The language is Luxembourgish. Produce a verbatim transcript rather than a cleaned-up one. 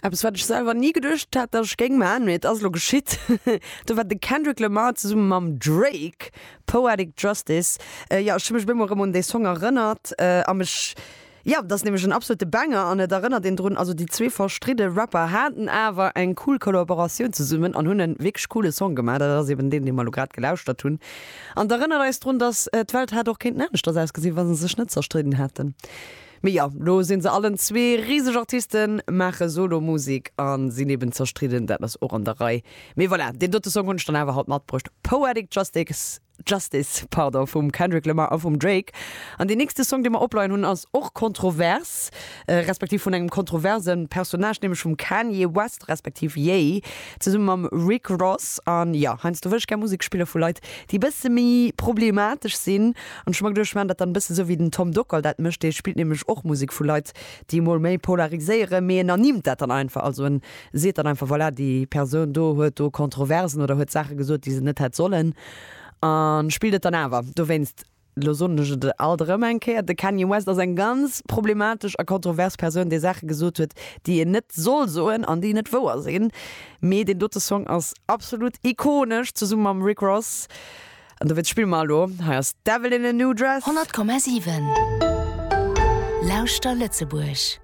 Eppes wat ech selwer ni geduecht hat, datt ech géing maachen, mee et ass elo geschitt. Do war de Kendrick Lamar zesumme mam Drake, Poetic Justice. Jo, ech hu mech op eemol erëm un dee Song erënnert a mech, jo, dat ass nämlech en absolute Banger an et erënnert een drun, also déi zwee verstridde Rapper haten awer eng cool Kollaboratioun zesummen an hunn e wierklech coole Song gemaach. Dat ass eben deen, dee mer elo grad gelauschtert hunn. An et erënnert eis drun, datt d'Welt hätt och kéinten aneschters ausgesinn, wa se sech net zerstridden hätten. Mee jo, lo sinn se allen zwee riseg Artisten, maache Solo-Musek a sinn eben zerstridden, dat ass och an der Rei. Mee voilà, deen dote Song hunn ech dann awer haut matbruecht, Poetic Justice, Justice, pardon, vum Kendrick Lamar a vum Drake. An deen nächste Song, dee mer opleien hunn, ass och kontrovers, respektiv vun engem kontroverse Personnage, nämlech vum Kanye West, respektiv Ye, zesumme mam Rick Ross. An jo, heiansdo wëll ech gär Musek spille vu Leit, déi e bësse méi problematesch sinn. An ech hu mer geduecht, ech maachen dat dann e bësse sou wéi den Tom Dockal dat mécht, dee spillt nämlech och Musek vu Leit, déi emol méi polariséieren, mee en ernimmt dat dann einfach, also en seet dann einfach, voilà, déi Persoun do huet do Kontroversen oder huet Saache gesot, déi se net hätt sollen, a spillt et dann awer. Dowéinst, lo soen ech et alt erëm eng Kéier, de Kanye West ass eng ganz problematesch a kontrovers Persoun, dee Saache gesot huet, déi een net soll soen an déi net wouer sinn. Mee deen dote Song ass absolut ikonesch, zesumme mam Rick Ross. An dowéinst spille mer elo, hei ass Devil in a New Dress. Honnert Komma siwen Lauschter Lëtzebuerg.